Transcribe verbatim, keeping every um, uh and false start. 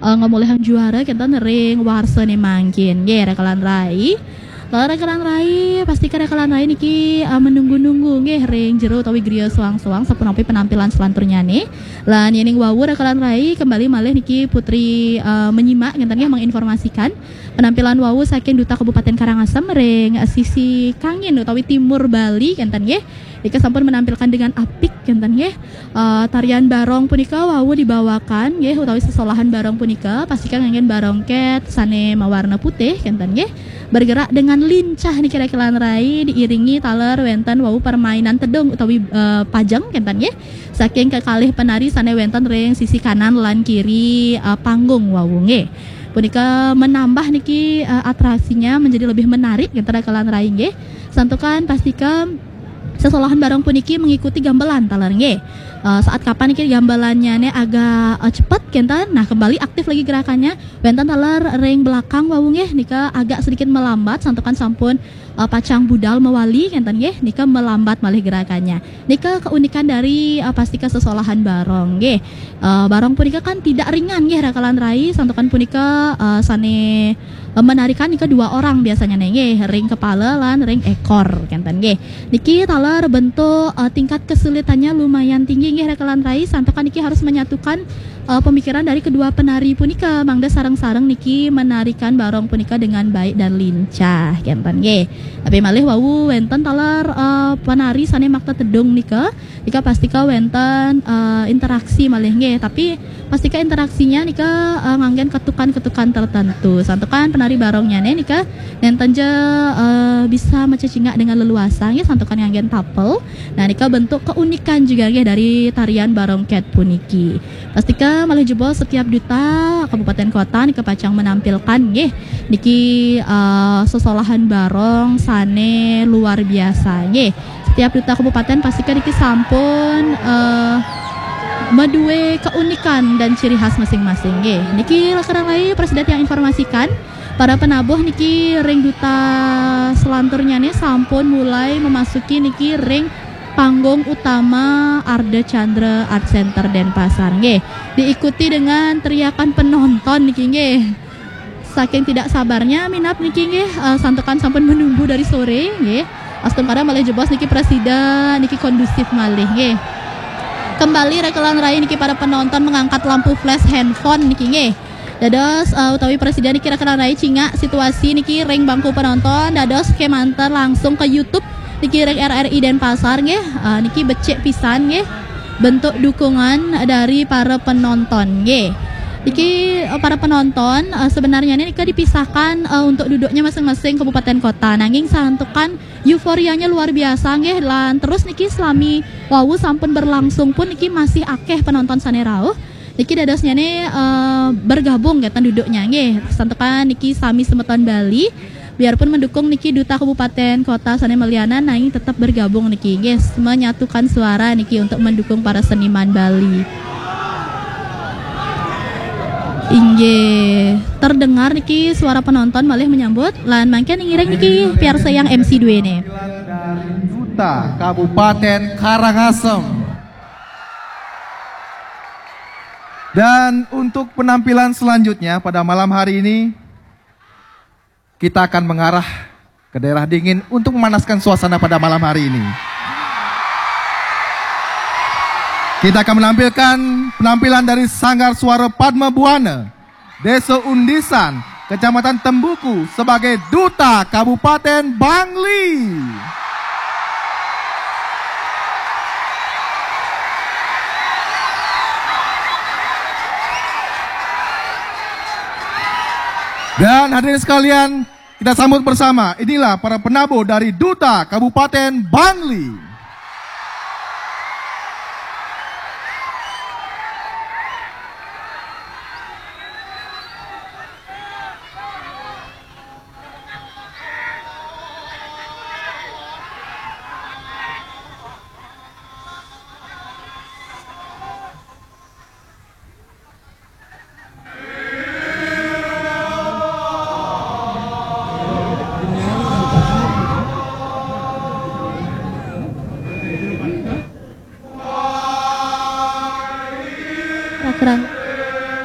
eh, ngamulihang juara kénten ring warsané mangkin. Nggih, rekan rai. Lah rekan rai, pastika rekan rai niki eh, menunggu-nunggu nggih ring jero utawi griya soang-soang sapunapi penampilan selanturnyané. Lan yéning wau rekan rai kembali malih niki Putri eh, menyimak kénten nggih menginformasikan penampilan wau saking Duta Kabupaten Karangasem ring eh, sisi kangin utawi timur Bali kénten nggih. Nika sampun menampilkan dengan apik kénten nggih. Eh, tarian barong punika wau dibawakan nggih utawi sesolahan barong punika pastika nganggén barongkét sané mawarna putih kénten nggih. Bergerak dengan lincah niki rekan rai diiringi taler wénten wau permainan tedung utawi eh, pajeng kénten nggih. Saking kekalih penari sané wénten ring sisi kanan lan kiri eh, panggung wau nggih. Punika menambah niki eh, atraksinya menjadi lebih menarik kénten rekan rai nggih. Santukan pastika sesolahan barong puniki mengikuti gamelan taler nggih. Eh, saat kapan niki gamelannya agak eh, cepet kénten, nah kembali aktif lagi gerakannya. Wénten taler ring belakang wau nggih nika agak sedikit melambat santukan sampun eh, pacang budal mawali kénten nggih, nika melambat malih gerakannya. Nika keunikan dari eh, pastika sesolahan barong nggih. Eh, barong punika kan tidak ringan nggih rekan rai santukan punika eh, sané eh, menarikan nika dua orang biasanya nggih, ring kepala lan ring ekor kénten nggih. Niki taler bentuk eh, tingkat kesulitannya lumayan tinggi nggih rekan rai santukan niki harus menyatukan eh, pemikiran dari kedua penari punika mangda sareng-sareng niki menarikan barong punika dengan baik dan lincah kénten nggih. Tapi malih wau wénten taler eh, penari sané makta tedung nika. Nika pastika wénten eh, interaksi malih nggih, tapi pastika interaksinya nika eh, nganggén ketukan-ketukan tertentu. Santukan penari barongnyané nika nénten ja eh, bisa macecingak dengan leluasa nggih santukan nganggén tapel. Nah, nika bentuk keunikan juga nggih dari tarian barongkét puniki. Pastika malih jebos setiap duta kabupaten kota nika pacang menampilkan nggih niki eh, sesolahan barong sané luar biasa nggih. Setiap duta kabupaten pastika niki sampun eh, madué keunikan dan ciri khas masing-masing nggih. Niki rekan rai presida tiang informasikan para penabuh niki ring duta selanturnyané sampun mulai memasuki niki ring panggung utama Ardha Candra Art Center Denpasar nggih. Diikuti dengan teriakan penonton niki nggih. Saking tidak sabarnya minab niki nggih eh, santukan sampun menunggu dari sore nggih. Astungkara malih jebos niki presida niki kondusif malih nggih. Kembali rekan rai niki para penonton mengangkat lampu flash handphone niki nggih. Dados eh, utawi presida niki rekan rai cingak situasi niki ring bangku penonton dados kémanten langsung ke YouTube niki ring R R I Denpasar nggih. Eh, niki becik pisan nggih bentuk dukungan dari para penonton nggih. Niki eh, para penonton eh, sebenarnya nika dipisahkan eh, untuk duduknya masing-masing kabupaten kota. Nanging santukan euforianya luar biasa nggih lan terus niki selami wau sampun berlangsung pun niki masih akeh penonton sané rauh. Niki dadosnyané eh, bergabung kénten duduknya nggih. Santukan niki sami semeton Bali biarpun mendukung niki duta kabupaten kota sané malianan nanging tetap bergabung niki nggih menyatukan suara niki untuk mendukung para seniman Bali. Inggih, terdengar niki suara penonton malih menyambut lan mangkin ngiring niki piarsayang M C duéné. Duta Kabupaten Karangasem. Dan untuk penampilan selanjutnya pada malam hari ini kita akan mengarah ke daerah dingin untuk memanaskan suasana pada malam hari ini. Kita akan menampilkan penampilan dari Sanggar Suara Padma Buana, Desa Undisan, Kecamatan Tembuku sebagai Duta Kabupaten Bangli. Dan hadirin sekalian, kita sambut bersama, inilah para penabuh dari Duta Kabupaten Bangli.